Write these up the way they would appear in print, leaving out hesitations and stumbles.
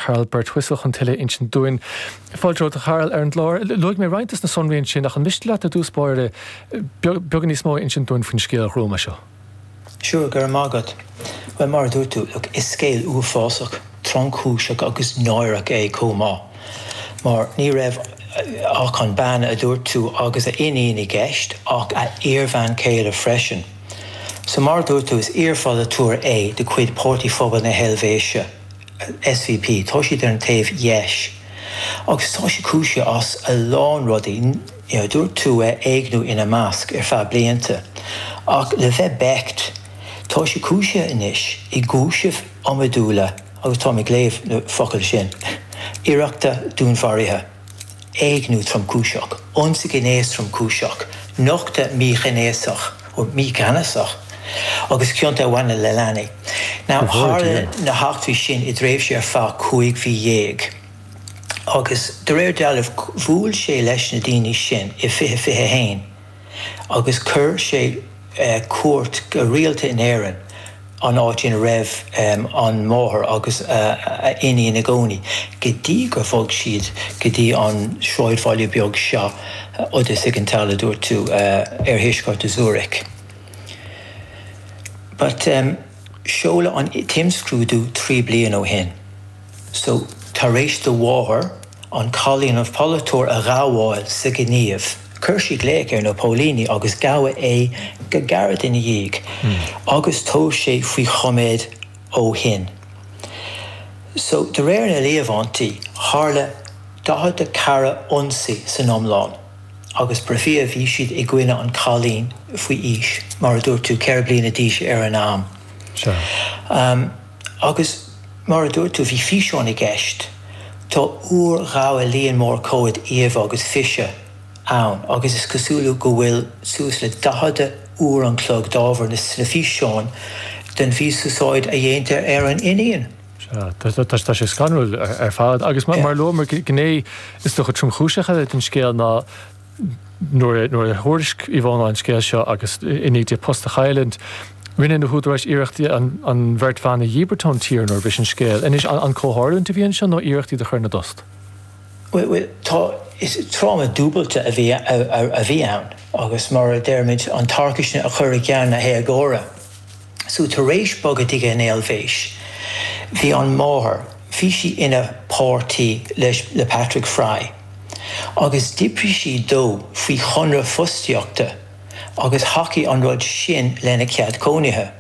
Carl Birtwistle chun tuilleadh a insint dúinn. Fáilte romhat, a Charl, ar an gclár. Luaigh mé roinnt des na sonraí ansin, ach an miste leat i dtús báire beagán níos mó a insint dúinn faoin scéal ghruama seo? Sure, go raibh maith agat. Bhuel, mar a dúirt tú, look, is scéal uafásach, tromchúiseach agus náireach é chomh maith. Mar ní raibh ach an bean a dúirt tú agus a iníon i gceist, ach a iarbhean chéile freisin. So mar a dúirt tú, is iarpholaiteoir é de chuid Páirtí Phobail na hEilvéise. SVP, tá siad ar an taobh dheis agus tá sé cúisithe as a lán rudaí, you know, dúirt tú éigniú ina measc ar feadh blianta. Ach le bheith beacht, tá sé cúisithe anois i gcúisimh iomadúla agus táim ag léamh na focail sin, iarrachta dúnmharaithe, éigniú tromchúiseach, ionsaí gnéis tromchúiseach, nochtadh míghnéasach nó mícheannasach agus cionta a bhaineann le leanaí. Now, tharla na heachtraí sin i dtréimhse ar feadh 15 mhí agus de réir dealraimh bhuail sé leis na daoine sin i 2021 agus chuir sé cuairt go rialta in Éirinn, an áit ina raibh an mháthair agus a iníon i gcónaí, go dtí gur bhog siad go dtí an sráidbhaile beag seo, Obersiggenthal, a dúirt tú, oirthuaisceart Zurich. But seoladh an t-imscrúdú 3 bliana ó shin. So, tar éis do mháthair an cailín an polaiteoir a ghabháil sa ghníomh, chuir sí glaoch ar na póilíní agus gabhadh é go gairid ina dhiaidh agus tá sé faoi choimeád ó shin. So, de réir na líomhaintí, tharla 44 ionsaí san iomlán agus brofia bhí siad i gcoinne an cailín faoi aois, mar a dúirt tú, 4 bliana d'aois ar an am. Sea. Agus mar a dúirt tú, bhí físeáin i gceist. Tá urghabhadh líon mór comhad íomhá agus físe ann agus is cosúil go bhfuil suas le 40 uair an chloig d'ábhar sna físeáin den mhí-úsáid a dhéantar ar an iníon. Sea, tá sé scanrúil ar fad. Agus mar a luamar, gné is dócha tromchúiseach eile den scéal ná, Nuair a thuairisc Ivona an scéal seo agus i ndiaidh di a post a chailliúint, rinne na húdaráis iarracht an bheirt bhan a dhíbirt ón tír nuair a bhris an scéal. Anois, an comhtharlúint a bhí anseo nó iarracht iad a chur ina dtost? Bhuel, tá, is tráma dúbailte a bhí a bhí ann agus mar a deirimid, an tarcaisne a chur i gceann na héagóra. So, tar éis bogadh chuig an Eilvéis, bhí an mháthair, bhí sí ina páirtí leis, le Patrick Frey. agus d'oibrigh sí dó faoi chonradh fostaíochta agus thacaigh an rud sin lena cead cónaithe.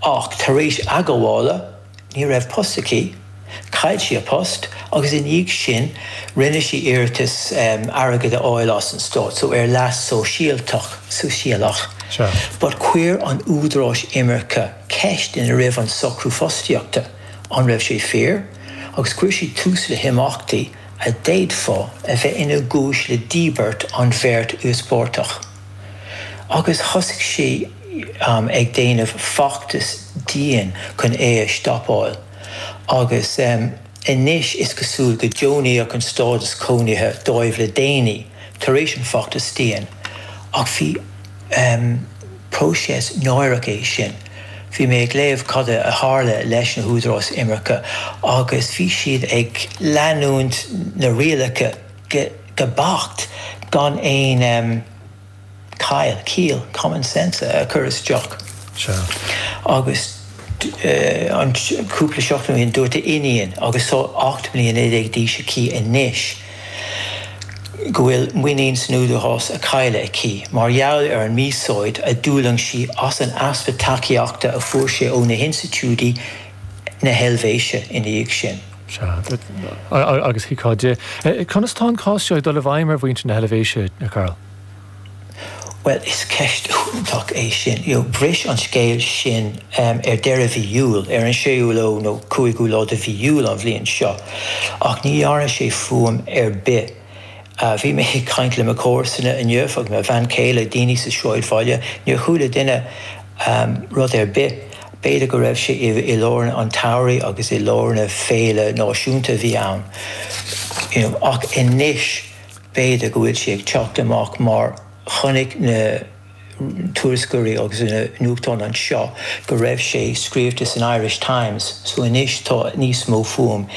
Ach tar éis a gabhála, ní raibh post aici, chaill sí a post agus i ndiaidh sin rinne sí iarratas airgead a fháil as an stát, so ar leas sóisialtach, sóisialach. But chuir an údaráis imirce ceist ina raibh an socrú fostaíochta, an raibh sé fíor, agus chuir siad tús le himeachtaí. a d'fhéadfá a bheith ina gcúis le díbirt an bheirt íospartach. Agus thosaigh sí ag déanamh feachtas dian chun é a stopáil. Agus anois is cosúil go deonaíodh an stádas cónaithe dóibh le déanaí, tar éis an feachtas dian. Ach bhí. Próiseas náireach é sin. Bhí mé ag léamh cad a tharla leis na húdaráis imirce agus bhí siad ag leanúint na rialacha go beacht gan aon caill, ciall, common sense a chur isteach. Sea. Agus an cúpla seachtain ó shin dúirt a iníon, agus tá 18 mbliana d'aois aici anois, go bhfuil muinín san údarás á cailleadh aici mar gheall ar an míúsáid a d'fhulaing sí as an easpa tacaíochta a fuair sé ó na hinstitiúidí na hEilvéise ina dhiaidh sin. Sea, agus thuigfeá di. Conas tá an cás seo ag dul i bhfeidhm ar mhuintir na hEilvéise, a Karl? Bhuel, is ceist iontach é sin. You know, bhris an scéal sin ar deireadh mhí Iúil, ar an séú lá nó cúigiú lá de mhí Iúil an bhliain seo, ach ní dhearna sé fuaim ar bith. Bhí mé ag caint le mo chomharsana inniu agus mo bhean chéile, daoine sa sráidbhaile, níor chuala duine rud ar bith. B'fhéidir go raibh sé i lár an tsamhraidh agus i lár na féile náisiúnta a bhí ann. You know, ach anois, B'fhéidir go bhfuil sé ag teacht amach mar chonaic na tuairisceoirí agus na nuachtáin anseo go raibh sé scríobhta san Irish Times so anois tá níos mó fuaim.